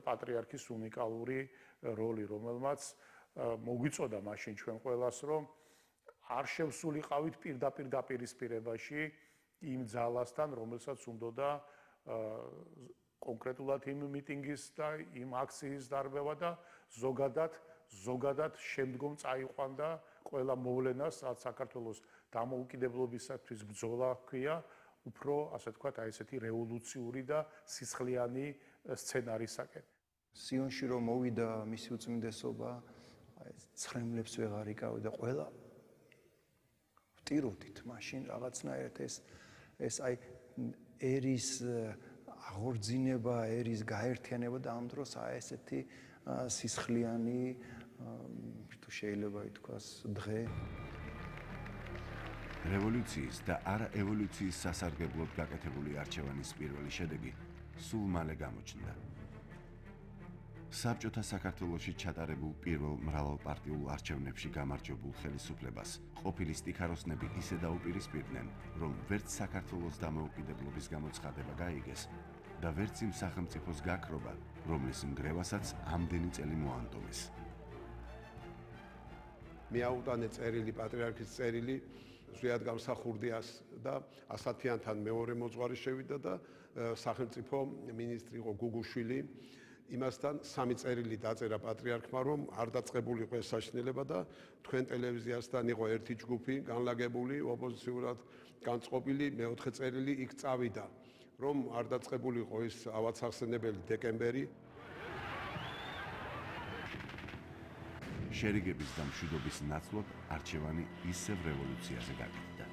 პატრიარქის უნიკალური როლი, რომელმაც მოგვიწოდა მაშინ ჩვენ ყველას, რომ არ შევსულიყავით პირდაპირ დაპირისპირებაში იმ ძალასთან, რომელსაც უნდოდა კონკრეტულად იმ მიტინგის და იმ აქციის დარბევა და ზოგადად შემდგომ წაიყვანდა ყველა მოვლენას, რაც საქართველოს დამოუკიდებლობისათვის ბრძოლა ჰქვია, უფრო, ასე ვთქვათ, აი ესეთი რევოლუციური და სისხლიანი სცენარისაკენ. სიონში რომ მოვიდა მისი უწმინდესობა, აი ცხრემლებს ვეღარ იკავდა ყველა. ვტიროდით მაშინ რაღაცნაირად ეს აი ერის აღორძინება, ერის გაერთიანება და ამ დროს აი ესეთი სისხლიანი თუ შეიძლება ითქვას დღე რევოლუციის და არა ევოლუციის სასარგებლოდ გაკეთებული არჩევანის პირველი შედეგი სულ მალე გამოჩნდა. საბჭოთა საქართველოში ჩატარებულ პირველ მრავალპარტიულ არჩევნებში გამარჯვებულ ხელისუფლებას ყოფილი სტიქაროსნები ისე დაუპირისპირდნენ, რომ ვერც საქართველოს დამოუკიდებლობის გამოცხადება გაიგეს და ვერც იმ სახელმწიფოს გაქრობა, რომლის ნგრევასაც ამდენი წელი მოანდომეს. მიაუტანე წერილი, პატრიარქის წერილი, ზვიად გამსახურდიას და ასათიანთან მეორე მოძღვარი შევიდა და სახელმწიფო მინისტრი იყო გუგუშვილი. იმასთან სამი წერილი დაწერა პატრიარქმა, რომ არ დაწყებულიყო ეს საშინელება და თქვენ ტელევიზიასთან იყო ერთი ჯგუფი განლაგებული, ოპოზიციურად განწყობილი, მეოთხე წერილი იქ წავიდა, რომ არ დაწყებულიყო ის ავაცახსენებელი დეკემბერი. შერიგების და მშვიდობის ნაცვლად არჩევანი ისევ რევოლუციაზე გაკეთდა.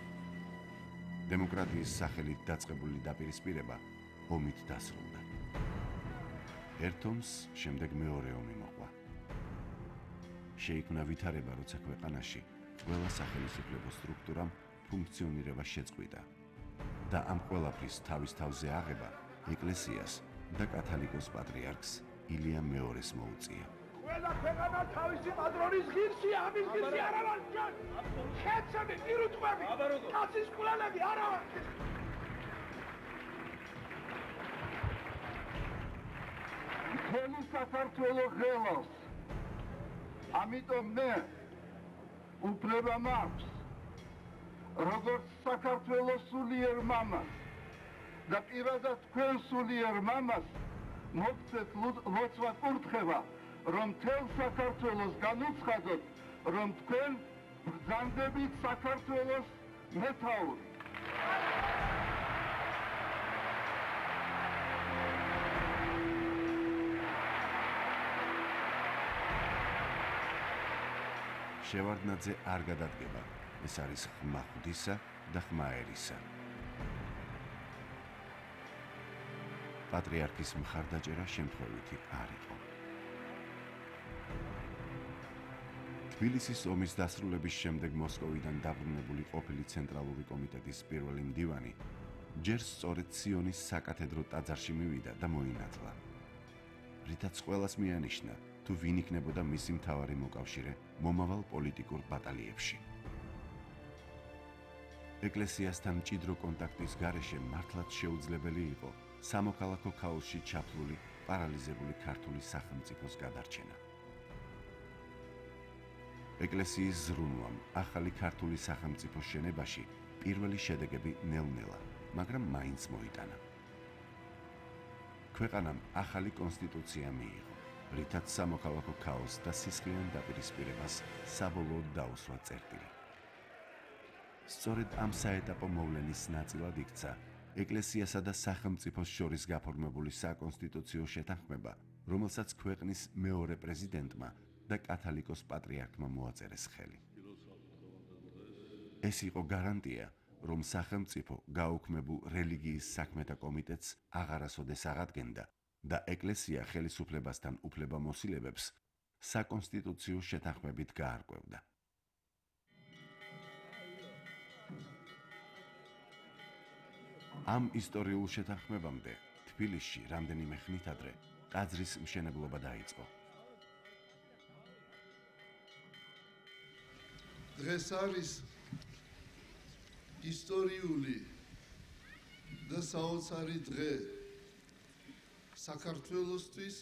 დემოკრატიის სახელით დაწყებული დაპირისპირება ომით დასრულდა. ერთ ომს შემდეგ მეორე ომი მოყვა. შეიქმნა ვითარება, როცა ქვეყანაში ყველა სახელმწიფო სტრუქტურამ ფუნქციონირება შეწყვიტა და ამ ყველაფრის თავის თავზე აღება ეკლესიას და კათალიკოს პატრიარქს ილია მეორეს მოუწია. ყველა ქვეყანა თავისი პატრონის ღირსია, ამის ღირსი არა ვარ ჩვენ. ხეცები, პირუტყვები, კაცის კვლელები არა ვარ. მთელი საქართველო ღელოს. ამიტომ მე უფლება მაქვს, როგორც საქართველოს სულიერ მამას და პირადად თქვენ სულიერ მამას მოგცეთ ლოცვა კურთხევა, რომ მთელ საქართველოს განუცხადოთ, რომ თქვენ ბრძანდებით საქართველოს მეთაური. შევარდნაძე არ გადადგება, ეს არის ხმა ღვთისა და ხმა ერისა. პატრიარქის მხარდაჭერა შემთხვევითი არ იყო. თბილისის ომის დასრულების შემდეგ მოსკოვიდან დაბრუნებული ყოფილი ცენტრალური კომიტეტის პირველი მდივანი ჯერ სწორედ სიონის საკათედრო ტაძარში მივიდა და მოინათლა. რითაც ყველას მიანიშნა, თუ ვინ იქნებოდა მისი მთავარი მოკავშირე მომავალ პოლიტიკურ ბატალიებში. ეკლესიასთან მჭიდრო კონტაქტის გარეშე მართლაც შეუძლებელი იყო სამოქალაქო ქაოსში ჩაფლული, პარალიზებული ქართული სახელმწიფოს გადარჩენა. ეკლესიის ზრუნვამ ახალი ქართული სახელმწიფოს შენებაში პირველი შედეგები ნელ-ნელა, მაგრამ მაინც მოიტანა. ქვეყანამ ახალი კონსტიტუცია მიიღო, რითაც სამოქალაქო ქაოსს და სისხლიან დაპირისპირებას საბოლოოდ დაუსვა წერტილი. სწორედ ამ საეტაპო მოვლენის ნაწილად იქცა ეკლესიასა და სახელმწიფოს შორის გაფორმებული საკონსტიტუციო შეთანხმება, რომელსაც ქვეყნის მეორე პრეზიდენტმა და კათალიკოს პატრიარქმა მოაწერეს ხელი. ეს იყო გარანტია, რომ სახელმწიფო გაუქმებულ რელიგიის საქმეთა კომიტეტს აღარასოდეს აღადგენდა და ეკლესია ხელისუფლებასთან უფლებამოსილებებს საკონსტიტუციო შეთანხმებით გაარკვევდა. ამ ისტორიულ შეთანხმებამდე თბილისში რამდენიმე ხნით ადრე ტაძრის მშენებლობა დაიწყო. დღეს არის ისტორიული და საოცარი დღე საქართველოსთვის